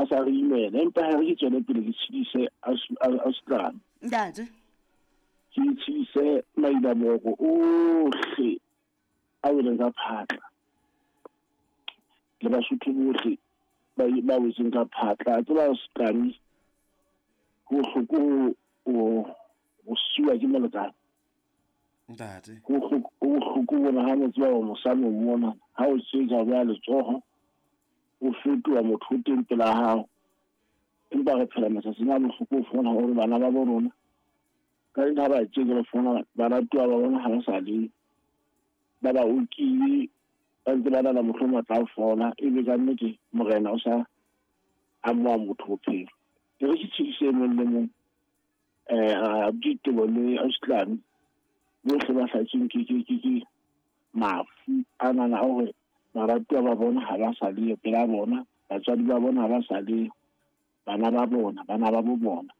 A sa re imela, empa ha re ke tswele pele ke tshedise ausitlane. Ntate. Ke tshedise mailaboko ohle a weleng ka phatla le Basotho bohle ba wetseng ka phatla. A tseba ausitlane ho bohloko ho siwa ke molekane. Ntate. Ho bohloko bona ha mo tseba hore mosadi o mona ha o tsetsa o beha letsoho o fetoha motho o teng pela hao. Empa re phela matsatsing a bohloko ho fumana hore bana ba bo rona ka eng ha ba tjeke ba fumana baratuwa ba bona ha ba sa le ba ba okile ba ntse ba nana mohlomong ba tla fola, ebe ka nnete morena o sa amoha motho bophelo. Ke re ke tshedise e mong le mong Ditebo le ausitlane bohle ba hlatsweng ke mafu a nana a hore baratuwa ba bona ha ba sa leyo pela bona, batswadi ba bona ha ba sa leyo, bana ba bona, bana ba bo bona.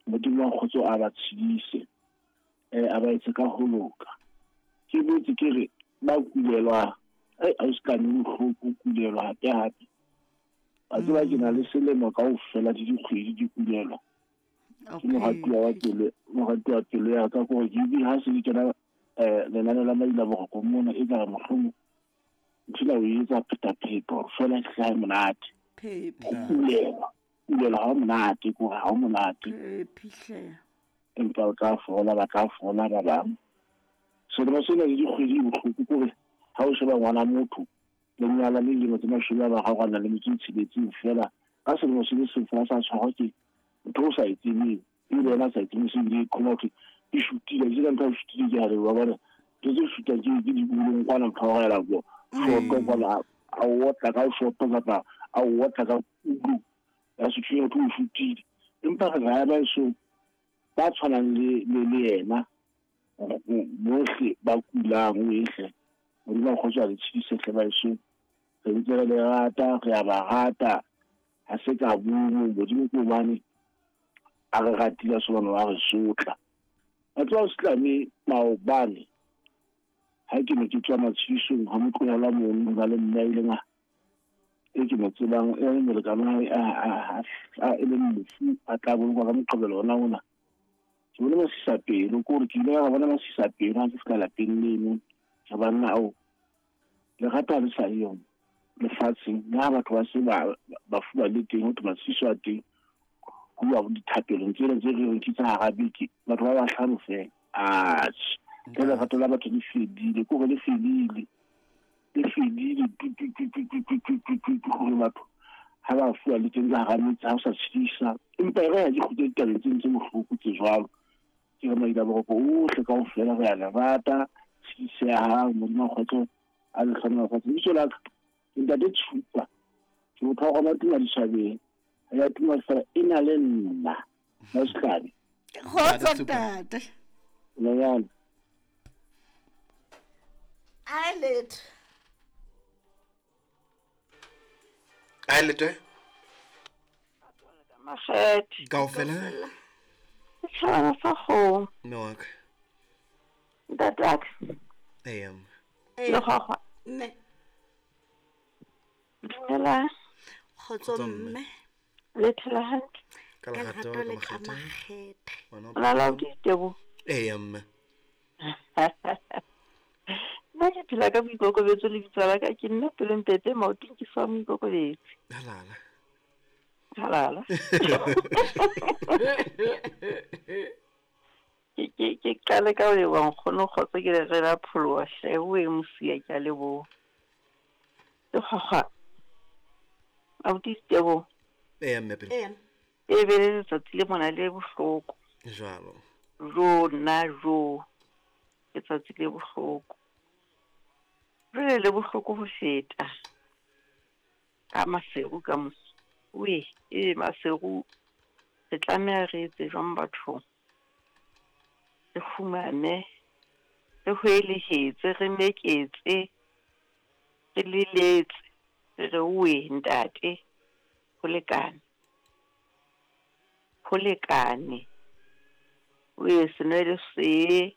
Modimo wa kgotso a ba tshedise, a ba etse ka ho loka. Ke boetse ke re ba kulelwa, ausitlane bohloko kulelwa hape hape. Wa tseba ke na le selemo kaofela le dikgwedi di kulelwa. Ke moratuwa wa pelo, moratuwa pelo ya ka kore ke ha se ke kena lenane la maila boroko mona e ka mohlomong ntho ena o etsa phetapheta hore fela e hlahe monate. Phephi. Ho kulelwa, kulelwa ha monate, kore ha monate. Phephi. Empa o tla fola, ba tla fola ba bang. Selemo sena le dikgwedi bohloko kore ha o sheba ngwana motho le nyala le dilemo tse 30 a na le metso e tsheletseng fela ka selemo se le seng fela sa tshwarwa ke ntho o sa e tsebeng, ebile yena a sa e tsebeng, se ebile e qhoma hothwe e shutile. Ke ka ntho e shutile ke hare wa bona ntho tse shutang ke diulong kwana motho wa go ela bo shoto kwana a o otla ka shoto kapa a o otla ka kudu ya sethunya hothwe o shutile. Empa re raya ba eso ba tshwanang le yena bohle ba kulang o ehle. Modimo a kgotso a le tshedise hle ba eso. Re ntse re le rata, re a ba rata. Ha se ka bua Modimo ke hobane a re ratile sobana wa re sotla. A tswa Islame maobane ha ke ne ke tswa matshedisong ha motlohela mono ho na le mme a ileng a e ke mo tsebang e le molekane wa hae a e leng mofu a tla bolokwa ka Moqebelo ona ona. Ke bone masisapelo ke hore ke ile ka bona masisapelo ha ke fihla lapeng leno. Re banna ao lerato ha le sa le yona lefatsheng le ha batho ba se bafu ba le teng ho thwe matshediso a teng ho bua dithapelong tsena tse re reng ke tsa hara beke batho ba bahlano fela. Atjhe, ke lerato la batho le fedile, ke hore le fedile, le fedile tu tu tu tu tu tu tu tu tu hore batho ha ba fuwa le teng ka hara metse ha o sa tshedisa. Empa e re ha di kgutle ditabeng tse ntse bohloko tse jwalo. Ke re maila boroko ohle kaofela re a le rata, tshedisehang, Modimo a kgotso a le hlohonolofatse. Lebitso la ka ke Ntate Tshupa, ke motho wa rona tuma ditjhabeng, ya tuma fela e na le nna Mausitlane. Kgotso ntate. Nonyana. Ai letho. Ai letho. Makgethe. Kaofela. Setjhabana sa kgomo. Mme wa ka. Ntate wa ka. Ee, mme. Lekgwakgwa. Mme. Dumelang. Kgotso mme. Le phela hantle. Ka lerato le ka ka makgethe. makgethe. Ngwana O na le ditebo. Ee, mme. Nna ke phela ka boikokobetso le bitso la ka ke nna Pelompepe maotong ke fa moikokobetsi. Halala. Halala. Ke qale ka ho leboha nkgono kgotso ke le re la pholoha hle o e mosiya ke a leboha. Lekgwakgwa. Abuti Ditebo. Ee, mme pele. Ee. E be le letsatsi le mona le bohloko. Jwalo. Jo nna jo. Letsatsi le bohloko. Jwale le bohloko ho feta. Ka Maseru ka moso. We, e Maseru re tlameha re etse jwang bathong? Re kgumame, re hwelehetse, re meketse, re leletse, re re we ntate, ho lekane. Ho lekane. We senwele se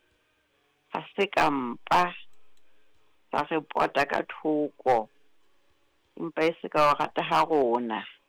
ha se ka mpa sa re pota ka thoko. Empa e se ka o rata ha rona.